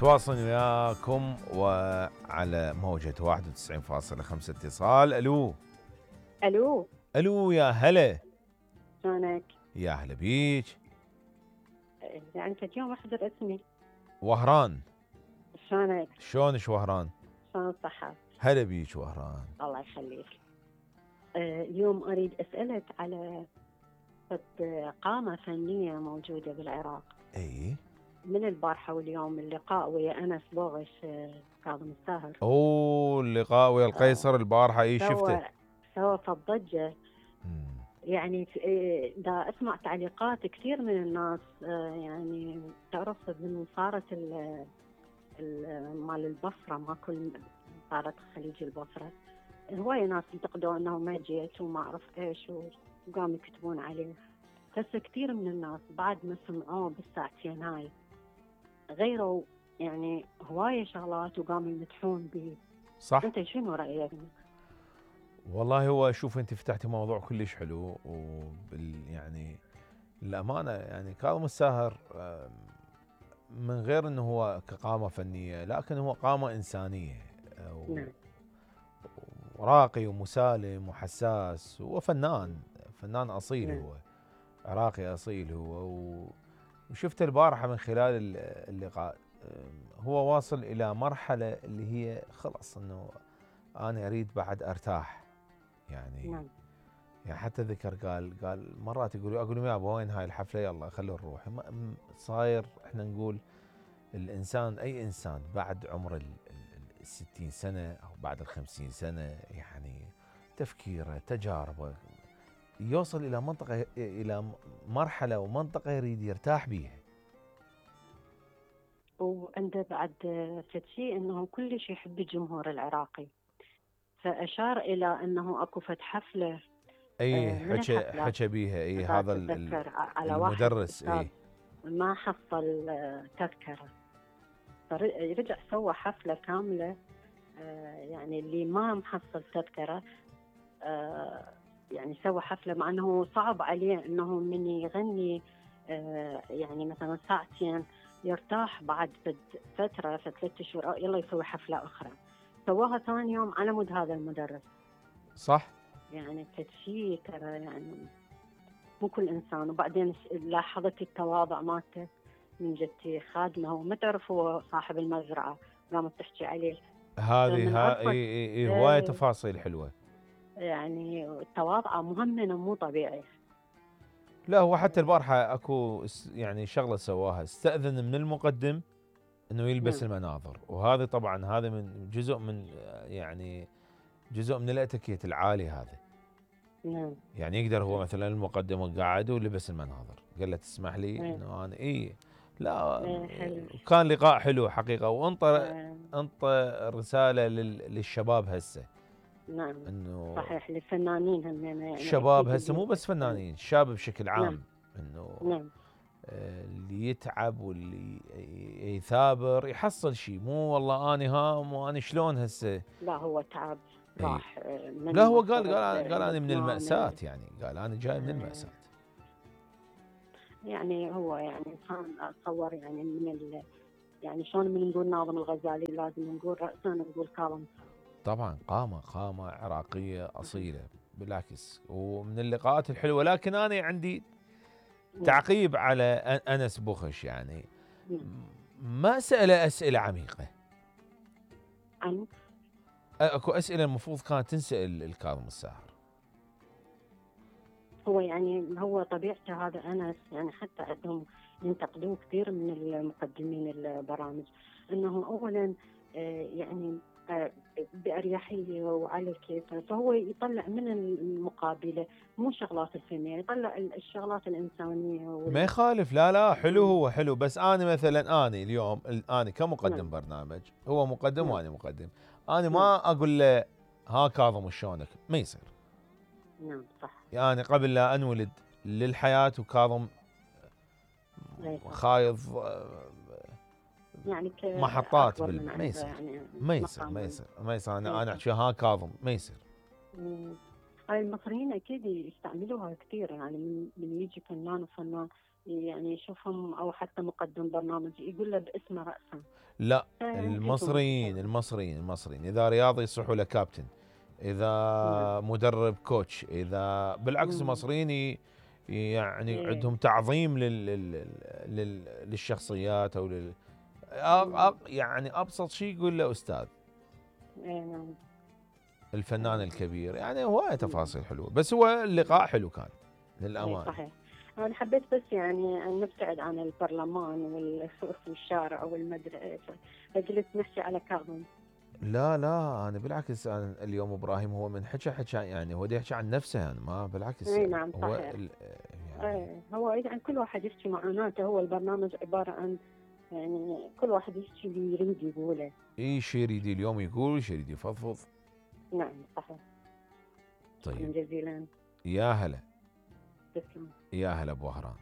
تواصل وياكم وعلى موجة 91.5 اتصال. الو الو الو يا هلا. شلونك؟ يا هلا بيك. يعني انت اليوم احضر اسمي. وهران. شلونك؟ شلونش وهران؟ شلون الصحة؟ هلا بيك وهران. الله يخليك. اليوم اريد اسألك على قامة فنية موجودة بالعراق. اي من البارحة واليوم اللقاء ويا انس بوغش كاظم الساهر. اوه اللقاء ويا القيصر البارحة. اي شفته. سوى الضجة. يعني دا اسمع تعليقات كثير من الناس. يعني تعرف من صارت مال البصرة ما كل صارت خليج البصرة. هواية ناس انتقدوا انه ما جيت وما اعرف ايش وقاموا يكتبون عليه. هسه كثير من الناس بعد ما سمعوه بالساعتين هاي غيروا يعني هواية شغلات وقاموا يمدحون به. صح. انت شنو رأيك؟ والله هو شوف انت فتحتي موضوع كلش حلو يعني الأمانة يعني كاظم الساهر من غير انه هو كقامة فنية لكن هو قامة إنسانية وراقي ومسالم وحساس وفنان أصيل. هو عراقي أصيل هو وشفت البارحة من خلال اللقاء هو واصل إلى مرحلة اللي هي خلاص انه أنا أريد بعد أرتاح يعني. يعني حتى ذكر قال مرات اقول لهم يابا وين هاي الحفله يلا خلونا نروح. صاير احنا نقول الانسان اي انسان بعد عمر 60 سنه او بعد 50 سنه يعني تفكيره تجاربه يوصل الى منطقه الى مرحله ومنطقه يريد يرتاح بيها. وعنده بعد فد شيء انه كلش يحب الجمهور العراقي فاشار الى انه اكو فد حفله. اي حكى بيها. اي هذا المدرس اي ما حصل تذكره فرجع سوى حفله كامله. يعني اللي ما محصل تذكره يعني سوى حفله مع انه صعب عليه انه من يغني يعني مثلا ساعتين يرتاح بعد فتره 3 شهور يلا يسوي حفله اخرى. سواها ثاني يوم على مود هذا المدرس. صح. يعني شيء ترى يعني مو كل انسان. وبعدين لاحظت التواضع مالته من جدتي خادمه وما تعرف هو صاحب المزرعه قامت تحكي عليه. هذه هوايه تفاصيل حلوه. يعني التواضع مهمنا مو طبيعي. لا هو حتى البارحه اكو يعني شغله سواها استاذن من المقدم انه يلبس المناظر وهذا طبعا هذا من جزء من الاتيكيت العالي هذا. يعني يقدر هو مثلا المقدم قاعد ولبس المناظر قال له تسمح لي انه انا لا كان لقاء حلو حقيقه وانطى رساله للشباب هسه. نعم انه صحيح للفنانين هم يعني الشباب هسه مو بس فنانين الشاب بشكل عام. انه اللي يتعب واللي يثابر يحصل شيء مو والله اني هام وانا شلون هسه. لا هو تعب راح لا هو قال انا من المأساة. يعني قال انا جاي من المأساة. يعني هو يعني انسان اتصور يعني يعني شلون من نقول ناظم الغزالي لازم نقول رأسا نقول كاظم. طبعا قامة عراقية أصيلة بالعكس ومن اللقاءات الحلوة. لكن أنا عندي تعقيب على أنس بوخش. يعني ما سأله أسئلة عميقة. أكو أسئلة المفروض كانت تنسأل الكاظم الساهر. هو يعني هو طبيعته هذا أنس يعني حتى عندهم ينتقدون كثير من المقدمين البرامج انه اولا يعني بأريحية وعلى الكيف. فهو يطلع من المقابلة مو شغلات الفنية يطلع الشغلات الإنسانية ما يخالف. لا حلو هو حلو. بس أنا مثلا أنا اليوم أنا كمقدم برنامج هو مقدم وأنا مقدم. أنا ما أقول له ها كاظم شلونك ما يصير. نعم صح. يعني قبل لا أنولد للحياة وكاظم خايض يعني محطات ما يصير. يعني ما يصير انا احكي ها كاظم ما يصير. هاي المصريين اكيد يستعملوها كثير. يعني من يجي فنان وفنان يعني يشوفهم او حتى مقدم برنامج يقول له باسمه رأسا. لا، فنحبهم المصريين بصراحة. المصريين المصريين اذا رياضي يصيحوا له كابتن، نعم. اذا مدرب كوتش، اذا بالعكس مم. المصريين يعني إيه. عندهم تعظيم للشخصيات او مم. يعني ابسط شيء يقول له استاذ إيه نعم. الفنان آه. الكبير، يعني هواية مم. تفاصيل حلوه، بس هو اللقاء حلو كان اي للامانه. صحيح. انا حبيت بس يعني ان نبتعد عن البرلمان والشارع والمدري ايش، فجلست نحكي على كاظم. لا لا، انا بالعكس، أنا اليوم ابراهيم هو من حكى يعني هو يحكي عن نفسه، يعني ما بالعكس اي نعم هو صحيح. يعني اي هو يعني كل واحد يحكي معاناته، هو البرنامج عبارة عن يعني كل واحد يحكي اللي يريد يقوله. اي شيء يريد اليوم يقول، شيء يريد يفضفض. نعم صحيح. شكرا طيب، جزيلا. يا هلا، تسلم. يا هلا ابو وهران.